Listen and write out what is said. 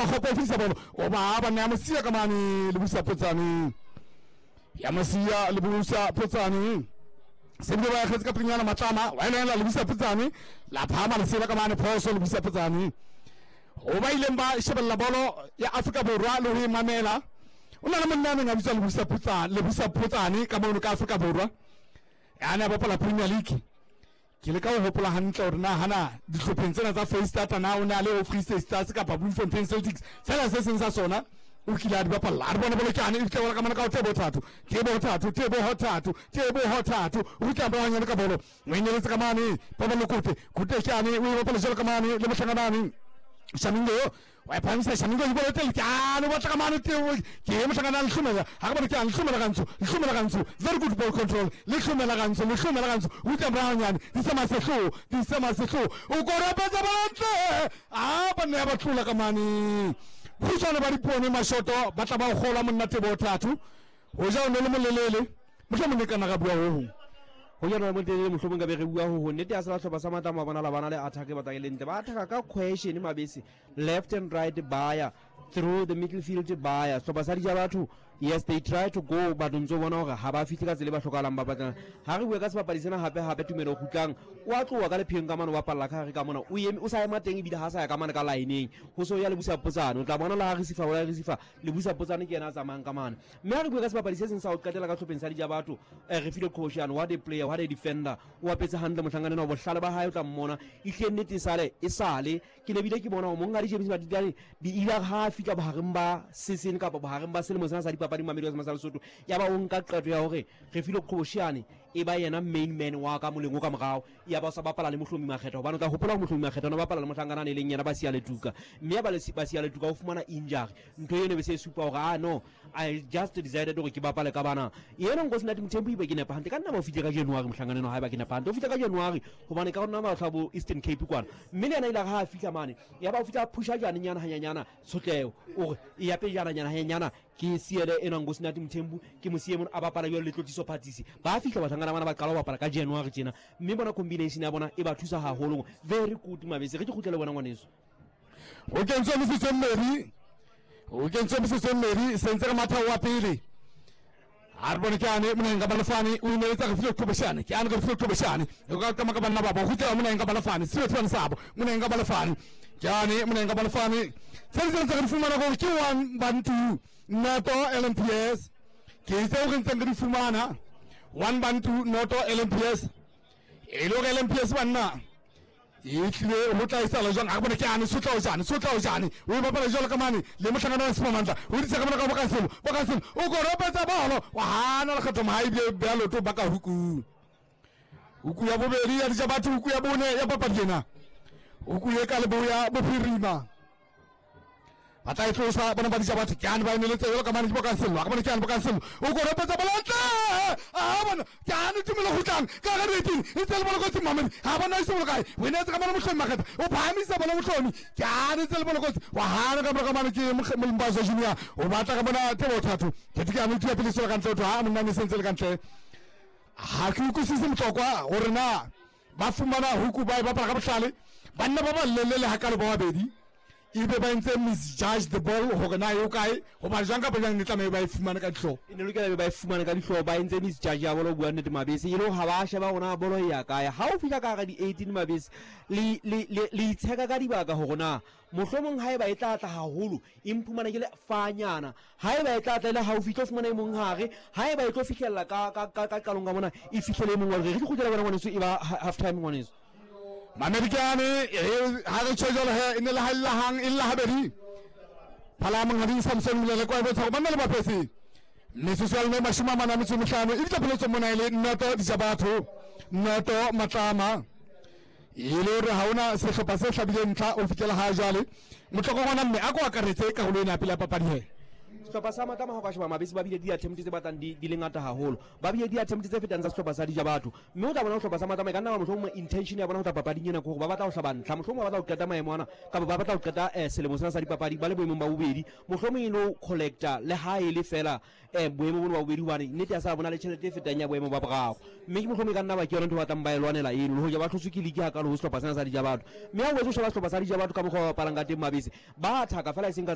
kgopo o fetisa bolo o ba ba nea mosia ka mane le busa potsane ya mosia le busa potsane se bile ba akgetse ka pelenyana matlama wa elela le busa potsane la phama lesela ka mane phoso le busa potsane go ba ileng ba shebelela bolo ya Afrika Borwa le ho e mamela o na le monna a neng a bitswa Lebusa Potsane ka mono ka Afrika Borwa ya ne a bapala Premier League ke le ka ho hopola hantle hore na hana dihlopheng tsena tsa Freistata na o ne a le ho Free State Stars kapa Bloemfontein Celtics fela se seng sa sona o kile a di bapalla a re bone bolokane e fitlha ka mona ka tebo thato tebo thato tebo thato tebo thato o fitlha ba hanyane ka bolo o enyeletse ka mane ba ba lokote khute kyane o e bapala jalo ka mane le motlhanga mane shamingo wa e phamisa shamingo e bolo tele kyane o batla ka mane teo ke motlhanga na lehlomela ga ke bone kyane lehlomela gantsho lehlomela gantsho very good ball control lehlomela gantsho lehlomela gantsho o tla moragonyane di sa masehlo di sa masehlo o korapetsa bontle a ba ne ba tlola ka mane khutshwane ba dipone mashoto ba tla ba gola monna tebo thato go ja o ne le molelele mohlomong e kana ga bua ho hong go ja rona motelele mohlomong ka be re bua ho hong nnete ya sela tlhopha sa matlamo a bona la bana le attack e batlang e le ntle ba attack ka question mabese left and right baya through the middle field baya sehlopha sa dija batho yes they try to go but ntse o bona gore ga ba fitlhe ka tsela e ba tlhokalang ba batlang ga re bue ka sebapadi sena gape gape tumelo gutlang o a tloa ka lepheng ka mane o bapalela ka gare ka mona o eme o sa ema teng ebile ga sa ya ka mane ka lineng go se o ya le busa potsane o tla bona la ga re sifa o la re sifa le busa potsane ke yena a tsamayang ka mane mme a re bue ka sebapadi se seng sa go qetela ka tlhopheng sa dija batho re file qhobosheane what a player what a defender o apetse hantle mohlankana enwa bohlale ba hae o tla mmona ehlile nnete e sale e sale ke ne bile ke bona gore monghadi James Madidane di ile ha a fihla bohareng ba season kapa bohareng ba selemo sena sa dipapadi Mamelodi ya sa Lesotho ya ba o nka qeto ya hore re file qhobosheane e ba yena main man wa ka moleng o ka morao ya ba o sa bapala le Mohlomi Makgetha hobane o tla hopola hore Mohlomi Makgetha o ne bapala le mohlankana e leng yena Basia Letuka mme ya ba Basia Letuka o fumana injury ntho eno be se supa hore ah no I just decided hore ke bapale ka bana yena Nkosinathi Mthembu ibe ke nepa hantle ka nna ba o fihle ka January mohlankana eno haeba ke nepa hantle o fihle ka January hobane ka rona batho bo Eastern Cape kwana mme le yena ile ha a fihla mane ya ba o fihla phusha jane nyana hanyanyana tshotleho o re e ya pejana nyana hanyanyana ke siele ena Nkosinathi Mthembu ke mo siye mona a bapala jwalo le Tlotliso Phatsisi ba fihla bahlankana bana ba qala ho bapala ka January tjena mme bona combination ya bona e ba thusa haholo very good mabese re ke kgutlele bona ngwaneso go kentswe metsotso e mmedi go kentswe metsotso e mmedi sentse re matha wa pele a re bone ke ane moneng ka balefane o ineetsa re file qhobeshane ke ane re file qhobeshane o ka kama ka banna ba ba gutela moneng ka balefane se tshwane sabo moneng ka balefane ke ane moneng ka balefane se se ntse re fumana gore ke one bantu noto LMPS ke tseo re ntseng re di fumana one bantu noto LMPS e le gore LMPS banna e tlile go tla e sala jwang a re bone ke ane sotla o jane sotla o jane o e bapala jalo ka mane le motlhangana wa semamantla o ditse ka mona ka bokaselo bokaselo o koropetsa bolo wa hana lekgetho moga ebile bea loto ba ka huku huku ya bobedi ya dija batho huku ya bone ya papadi ena huku ye ka leboya bophirima ba tla e tlosa bona ba dija batho ke ane ba emeletse jalo ka mane ke bokasello a ka bone ke ane bokasello o koropetsa bolontle a bona ke ane tumelo gotlang ka ga dieteng e tse le bolokotsi mamedi ga bona ise bolokae o eneetse ka mane motlhomi makgetha o phahamisa bona motlhomi ke ane tse le bolokotsi wa gana ka morago mane ke molimbazo junior o batla ka bona tebo thato ke ke ane tua pele selo ka ntle o tloga monna ne sentse le ka ntle ga ke utlwisise motlokwa gore na ba fumana huku ba e bapala ka bohlale banna ba ba lelele ga kalo ba babedi ebe ba entse misjudge the ball gore na eo kae goba jang kapa jang ne tlamehe ba e fumane ka dihlooho e ne lokela be ba e fumane ka dihlooho ba entse misjudge ya bolo bua nnete mabese e le ga ba sheba gona bolo e ya kae ga o fitlha ka gara di-18 mabese le itsheka ka dibaka gore na mohlomong ga e ba e tla tla gagolo e mphumana ke le fanyana ga e ba e tla tla e le gaufi e tlo fumana e mong gare ga e ba e tlo fitlhelela ka qalong ka mona e fitlhele e mongwe re re kgutlela bona ngwaneso e ba half time ngwaneso Mamerikane ha re tjho jwalo he e ne le ha lla hang e lla habedi phala monghadi Samson Molele kwa e bontsha gore banna le bapetse metsotso ya lone mashome a mane a metso e mehlano e bitla pheletso mona e le noto dija batho noto matlama e le gore ga ona sehlopha se hlabileng ntlha o fitlhela ga jwale motloko ngwana mme a ko akaretse karolo ena ya pele ya papadi he sehlopha sa matlama ga o ka sheba mabese ba bile di-attempt tse batlang di le ngata haholo ba bile di-attempt tse fetang tsa sehlopha sa dija batho mme o tla bona sehlopha sa matlama e ka nna ba mohlomongwe intention ya bona go tla papading ena ke gore ba batla go hlaba ntlha mohlomongwe ba batla go qeta maemo ana kapa ba batla go qeta selemo sena sa dipapadi ba le boemong ba bobedi mohlomong e lo collecta le ha e le fela boemo bono ba bobedi hobane nnete ya sa bona le tjhelete e fetang ya boemo ba boraro mme ke mohlomong e ka nna ba ke yona ntho ba batlang ba e lwanela eno le hoja ba hlotswe ke league hakalo ho sehlopha sena sa dija batho mme ha o boetse o sheba sehlopha sa dija batho ka mokgwa ba bapalang ka teng mabese ba thaka fela e seng ka